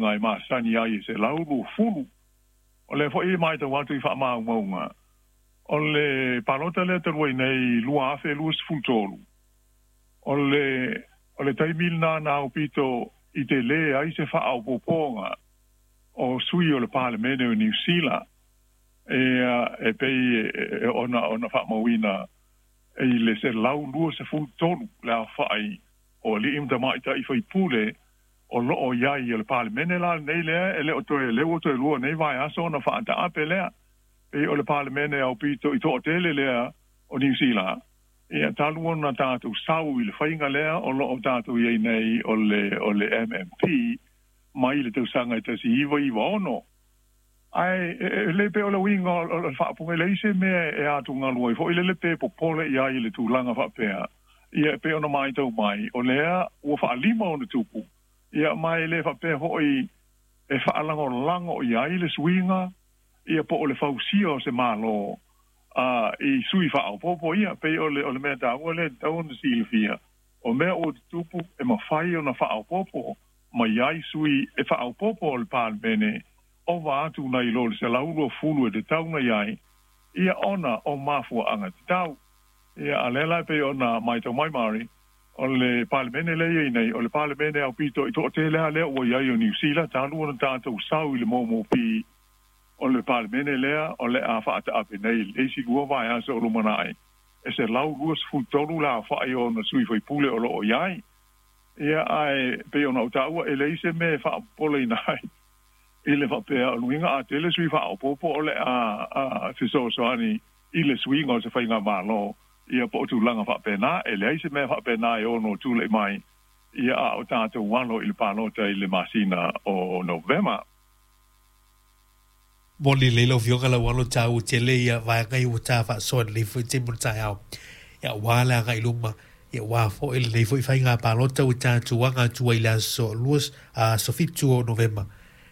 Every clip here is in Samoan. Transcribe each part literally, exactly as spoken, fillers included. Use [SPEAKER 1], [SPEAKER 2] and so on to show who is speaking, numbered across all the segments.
[SPEAKER 1] uiga e masani ai e selau luafulu. O lea fo'i maitau atu i fa'amaumauga o le palota lea talu ai nei lua afe luasefulu tolu, o le o le taimi lenā na aupito i telē ai se fa'aopoopoga o sui o le Palemene o Niusila e e pei ona ona fa'amauina i le selau luasefulu tolu le aofa'i o ali'i ma tamaita'i faipule o lo'o iai o le Palemene la lenei lea e le o toe leu o toe lua nei vaiaso ona fa'ata'ape lea pei o le Palemene aupito i to'atele lea o Niusila. Ia talu ona tatou sau i le faiga lea o lo'o tatou iai nei o le o le M M P mai le tausaga e tasi iva iva ono. Ae e le pe o le uiga o le fa'apuga leai se mea e atugalu ai fo'i lele pe popole i ai i le tulaga fa'apea. Ia e pei ona maitau mai o lea ua fa'alima ona tupu. Ia ma e le fa'apea fo'i e fa'alagolago i ai le suiga ia po o le fausia o se mālō a i sui fa'aopoopo ia pei o le o le mea taua lea tatau ona silafia o mea ua tutupu e mafai ona fa'aopoopo mai ai sui e fa'aopoopo o le Palemene ova atu nai lo le selau luafulu e tatau ona iai ia ona o mafua'aga tatau. Ia a lea la e pei ona maitau mai Mari o le Palemene lea iai nei o le Palemene aupito i to'atele a lea ua iai o Niusila talu ona tatou sau i le momopi o le Palemene lea o le a fa'ata'ape nei le isi lua vaiaso o lumana'i e selau luasefulu tolu le aofa'i o ona sui faipule o lo'o iai. Ia ae pei ona ou ta'ua e leai se mea e fa'apopoleina ai i le fa'apea o luiga a tele sui fa'aopoopo o le a a fesoasoani i le suiga o se faiga mālō ia po o tulaga fa'apena e leai se mea fa'apena e ono tula'i mai ia a o tatou alo i le palota i le masina o Novema.
[SPEAKER 2] Moni lelei lau Afioga lau alo tāua tele ia vaega ia ua tā faasoa lenei foi taimi o le taeao. Ia aua le agai i luma, ia aua foi lenei foi faiga palota ua tatou aga atu ai i le aso lua, aso fitu o Novema.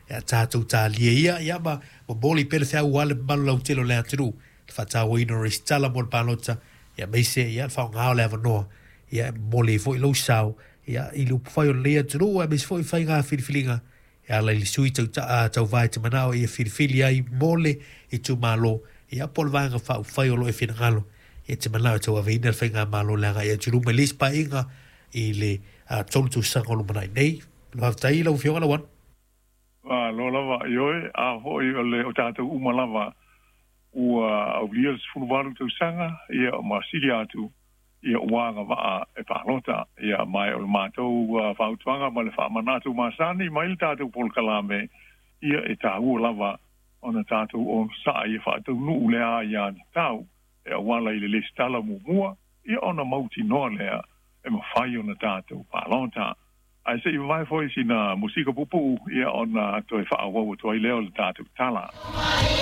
[SPEAKER 2] Ia tatou talia ia, ia ma momoli pea le feau aua le mamalu lautele o le atunuu, le faatauaina o resitala mo le palota, ia aemaise ia le faaaoga o le avanoa, ia e momoli ai foi lou sao, ia i le upufai o lenei atunuu, aemaise foi faiga filifiliga e ala i le sui tauva e te manao ia filifili ai mo le itumalo, ia po o le vaega faaupufai o lo o e finagalo e te manao e tauaveina le faigamalo le agai atu i luma i le isi paeaiga i le tolu tausaga o lumanai nei. Faafetai lau Afioga Lauano.
[SPEAKER 1] Malo lava ioe, a fo'i o le o tatou uma lava ua aulia le sefulu valu tausaga ia ma sili atu ia ua agava'a e palota. Ia ma o le matou fautuaga ma le fa'amanatu masani mai le tatou polokalame ia e tāua lava ona tatou onosa'i e fa'ataunu'u le aiā tatau e auala i le lesitala muamua ia ona mautinoa lea e mafai ona tatou palota. Ae se'i vavae fo'i sina musika pupu'u ia ona toe fa'aauau atu ai lea o le tatou tala.